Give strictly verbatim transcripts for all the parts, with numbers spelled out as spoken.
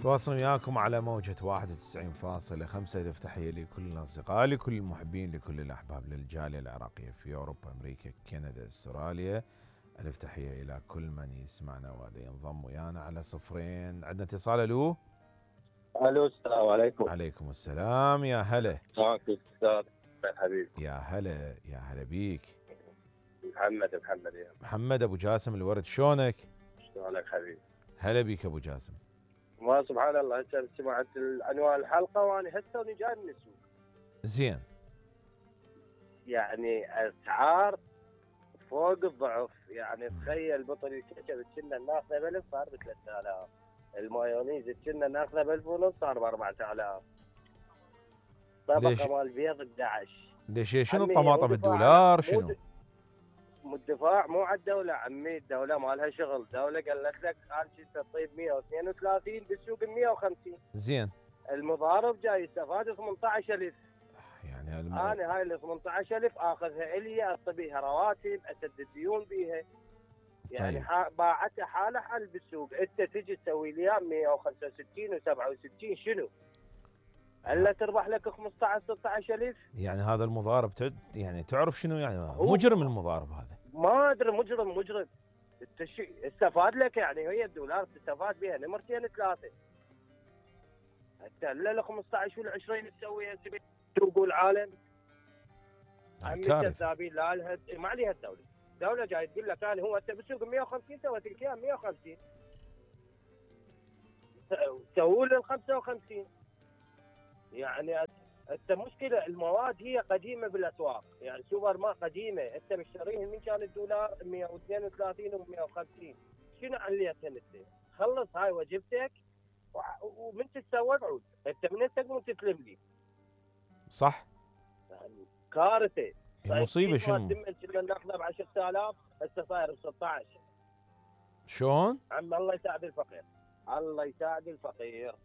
تواصل وياكم على موجة واحد وتسعين فاصلة خمسة. ألف تحية لكل الأصدقاء، لكل المحبين، لكل الأحباب، للجالية العراقية في أوروبا، أمريكا، كندا، أستراليا. ألف تحية إلى كل من يسمعنا وهذا ينضم ويانا على صفرين. عندنا اتصال. ألو الو السلام عليكم. عليكم السلام. يا هلا. معك الاستاذ حبيبي. يا هلا يا هلا بيك. محمد محمد يا محمد ابو جاسم الورد، شلونك؟ شلونك حبيبي؟ هلا بيك ابو جاسم. ما سبحان الله، هسه سمعت عنوان الحلقه وانا هسه جاي من السوق. زين. يعني اسعار فوق الضعف، يعني تخيل بطل الكشف كنا ناخذه ب ألف صار ب ثلاثة آلاف، المايونيز كنا ناخذه ب ألف ونص صار ب أربعة آلاف، طبقه مال بيض أحد عشر. ليش شنو الطماطم بالدولار شنو؟ مو الدفاع مو على الدوله عمي، الدوله ما لها شغل، الدوله قالت لك قال شي تطيب مية واثنين وثلاثين بالسوق ب مية وخمسين. زين. المضارب جاي يستفاد ثمانية عشر ألف. يعني الم... انا هاي ال ثمانية عشر ألف اخذها الي، اعطي بيها رواتب، اسدد ديون بيها. يعني طيب. باعتها حاله حال بالسوق، انت تجي تسوي لي مية وخمسة وستين وسبعة وستين شنو؟ الا تربح لك خمسة عشر ستة عشر ألف. يعني هذا المضارب تد... يعني تعرف شنو يعني مجرم المضارب هذا؟ ما ادري، مجرم مجرم. استفاد لك يعني هي الدولار تستفاد بها نمرتين ثلاثه. حتى الا خمسة عشر ولا عشرين تسويها سوق العالم. عمي كذابين. لا لها ما عليها الدوله، الدوله جاي تقول لك انا هو انت بالسوق مية وخمسين سويت لك اياها مية وخمسين، سووا لي ال خمسة وخمسين. يعني انت مشكله المواد هي قديمه بالاسواق، يعني سوبر ما قديمه، انت مشتريها من كان الدولار مية واثنين وثلاثين و مية وخمسين، شنو عليتها انت؟ خلص هاي وجبتك ومن تتسوق عود، انت من تقوم تسلم لي. صح. يعني كارثه. المصيبه شنو؟ كنا ناخذه ب عشرة آلاف هسه صاير ب ستة عشر. شلون؟ عم الله يساعد الفقير، الله يساعد الفقير.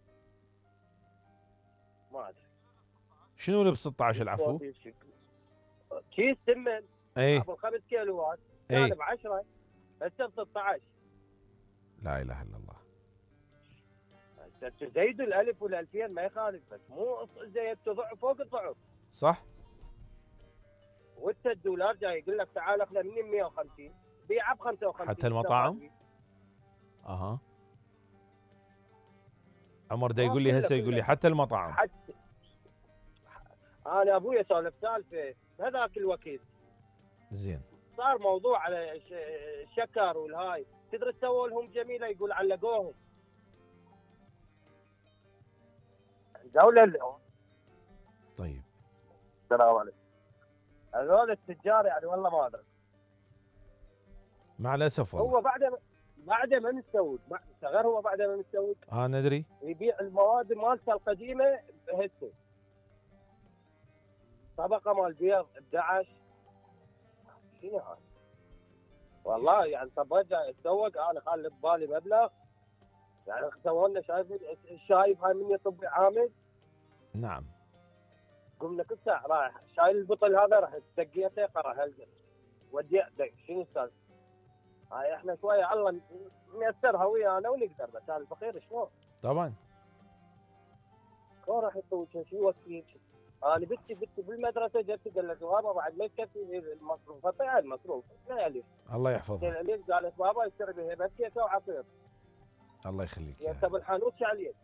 ما ادري شنو اللي ب ستة عشر العفو؟ كيس سمن اي ابو خمس كيلوات كان ب عشرة هسه ب ستة عشر. لا اله الا الله. زيدوا الالف والالفين ما يخالف، بس مو زيد ضعف فوق الضعف. صح. وانت الدولار جاي يقول لك تعال اخذ مني مية وخمسين بيعه ب خمسة وخمسين. حتى المطاعم؟ اها. عمر دا يقول لي هسه، يقول لي حتى المطاعم. حتى انا ابويا سولف سالفه هذاك الوكيل. زين. صار موضوع على الشكر والهاي، تدري سووا لهم جميله، يقول علقوهم الدوله اليوم. طيب. السلام عليكم. هذول التجار يعني والله ما ادري. مع الاسف والله. هو بعد بعد ما مستوي صغير، هو بعد ما مستوي اه ندري يبيع المواد مالته القديمه هسه. طبقه مال بيض أحد عشر. شنو هاي؟ والله يعني طب اتسوق انا خلي ببالي مبلغ، يعني سووا لنا شايف الشايب هاي مني طبي عامل. نعم. قمنا كل ساعه رايح شايل البطل هذا، راح دقيته قرا هلقه ودي شنو صار؟ هاي احنا شويه الله نيسرها ويانا ونقدر، بس هذا الفقير شلون؟ طبعا. شلون راح يسوي شيء يوكل؟ انا بنتي بنتي بالمدرسه جت قالت بابا بعد ما يكفي المصروف، فطيع المصروف لا الف. الله يحفظها. الف قالت بابا اشتري بها بس كيكه وعصير. الله يخليك يا انت بالحانوت شو عليك؟